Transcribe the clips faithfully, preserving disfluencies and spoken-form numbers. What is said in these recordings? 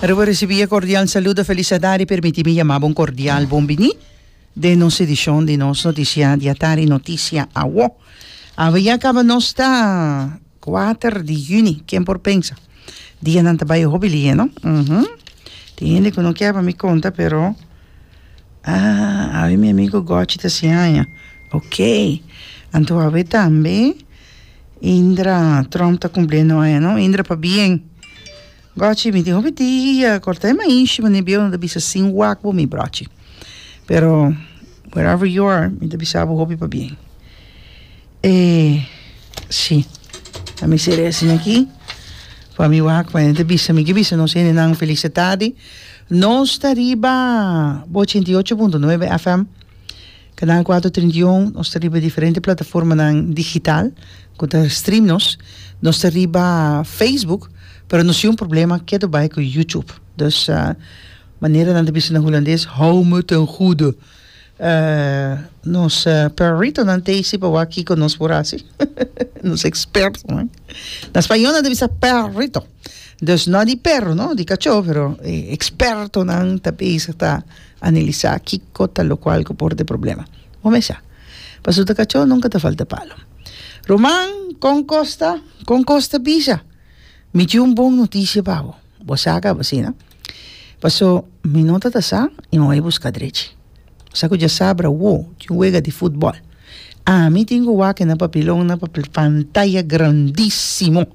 Aruba recibi e cordial saludo, felicidad y permiti mi yama bo un cordial bon bini den nos edicion di nos noticia di atardi, Noticia Awo. Awe ya caba nos ta kuater di juni, ken por pensa? Dianan ta bay hopi lihe, no? Uhum. Tin hende cu no kier pa mi conta, pero ah, awe mi amigo Gochi ta haci aña. Ok. Anto awe tambe Indra Trump ta cumpliendo aña, no? Indra, pabien. Gochi, mi tin hopi dia, corta e maishi, mane bieu no ta bisa sin wak bo mi brochi. Pero wherever you are, mi ta bisa bo hopi pabien. E si, a mi sere asina aki, pa mi wak, pa ta bisa, mi ke bisa nos hendenan feliz tardi. Nos ta riba bo ochenta i ocho punto nuebe F M, Canal kuater trinta i un, nos ta riba diferente plataformanan digital ku ta stream nos. Nos ta riba Facebook, pero nos tin un problema ketu bai ku YouTube. Dus uh, manera nan ta bisa na hulandes, hou me ten goede. Uh, nos uh, peritonan t'ei si pa wak kiko nos por hasi. Nos expertonan. Na spañó nan ta bisa perrito. Dus no di perro, no, di kachó, pero eh, expertonan ta bezig ta analisá kiko ta lokual ku por ta e problema. Bo mesa. Pasobra ta kachó nunka ta falta palo. Ruman, kon kos ta? Kon kos ta bisa? Mi tin un bon notisia pa bo. Bo sa kaba asina? Paso mi no ta ta sa i mi bai buska drechi. Sa ku djasabra awo tin un wega di futbòl. Ami tin ku wak na papilon na pantaya grandísimo.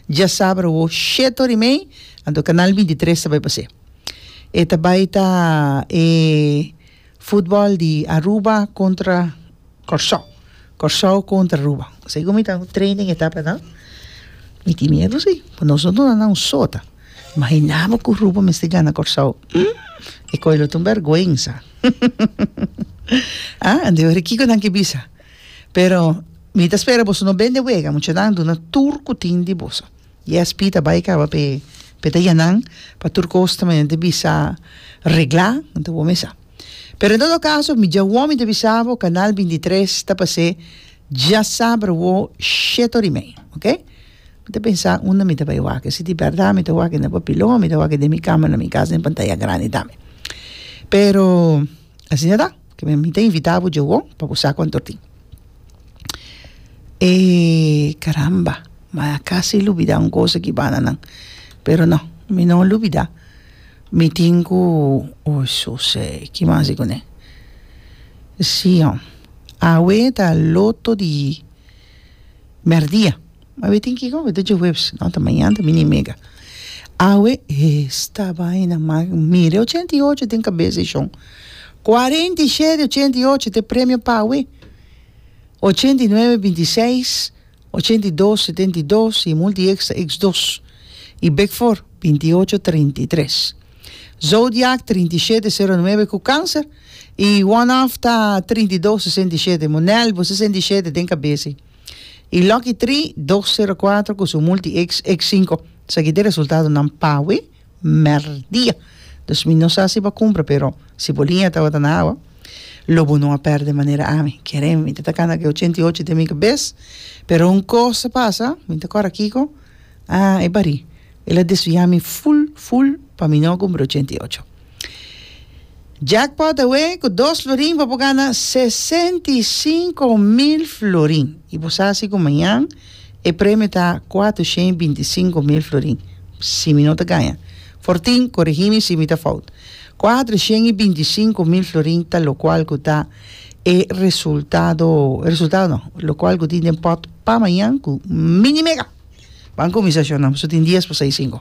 Djasabra awo shete ora i mei, anto kanal binti tres ta bai pas'é. E ta bai ta e futbòl di Aruba kontra Kòrsou. Kòrsou kontra Aruba. Segun mi ta training e ta nan, mi tin miedu si, pa nos no duna nan un sota. Imaginá bo ku Aruba mester gana Kòrsou. E koi lo ta un bèrgwensa. Ah, anto ora kiko nan ke bisa? Pero mi ta spera boso no bende wega, muchanan duna tur ku tin di boso. Yes, Pita bai kaba p'e p'e ta yanan pa tur kos ta manera ta bisa reglá, anto bo mesa. Pero en todo caso, mi djawo mi ta bisa bo, Canal bintitres ta pas'é djasabra awo shete ora i mei, ok? Mi ta pensa unda mi ta bai wak, si di bèrdat mi ta wak na papilon, mi ta wak den mi kama na mi kas den pantaya grandi tambe. Pero asina ta, ke mi ta invitá bo djawo pa bo sa kuantu tin. E caramba, ma casi lubida un cosa aki banda nan. Pero no, mi no lubida. Mi tin ku, oh sose, ki mas di kuné? Sí, hom. Awe ta loto di merdia. Awe tin kiko? Awe ta djaweps. No, ta mañana ta mini mega. Awe, esta vaina, ma mira ochenta i ocho den kabes di shon. Kuarenta i shete, ochenta i ocho ta e premio pa awe. Ochenta i nuebe, binti i seis, ochenta i dos, setenta i dos i multi extra x dos. I Big Four, binti i ocho, trinta i tres. Zodiac, trinta i shete, sero nuebe ku kanser. I one off ta trinta i dos, sesenta i shete. Monel, bo sesenta i shete den kabes ei. I Lucky Three, dos sero kuater ku su multi x, x sinku. Esaki ta e resultadonan pa awe merdia. Dus mi no sa si bo a kumpra, pero si bo liña tabata na awa, lo bo no a pèrdè manera ami. Kere mi ta ta kanda ku e ochenta i ocho den mi kabes, pero un kos a pasa, mi ta kòrda kiko, ah, e barí. El a desviá mi ful, ful pa mi no a kumpra ochenta i ocho. Jackpot awe ku dos florin bo por gana sesenta i sinku mil florin. I bo sa si ku mañan e premio ta kuater shen i binti sinku mil florin. Si mi no ta gaña. Fortin, korigí mi si mi ta fout. Kuater shen i binti sinku mil florin ta lokual ku ta e resultado, e resultado no, lokual ku tin den pòt pa mañan ku Mini Mega. Ban kuminsá shona, pasobra tin dies pa seis sinku.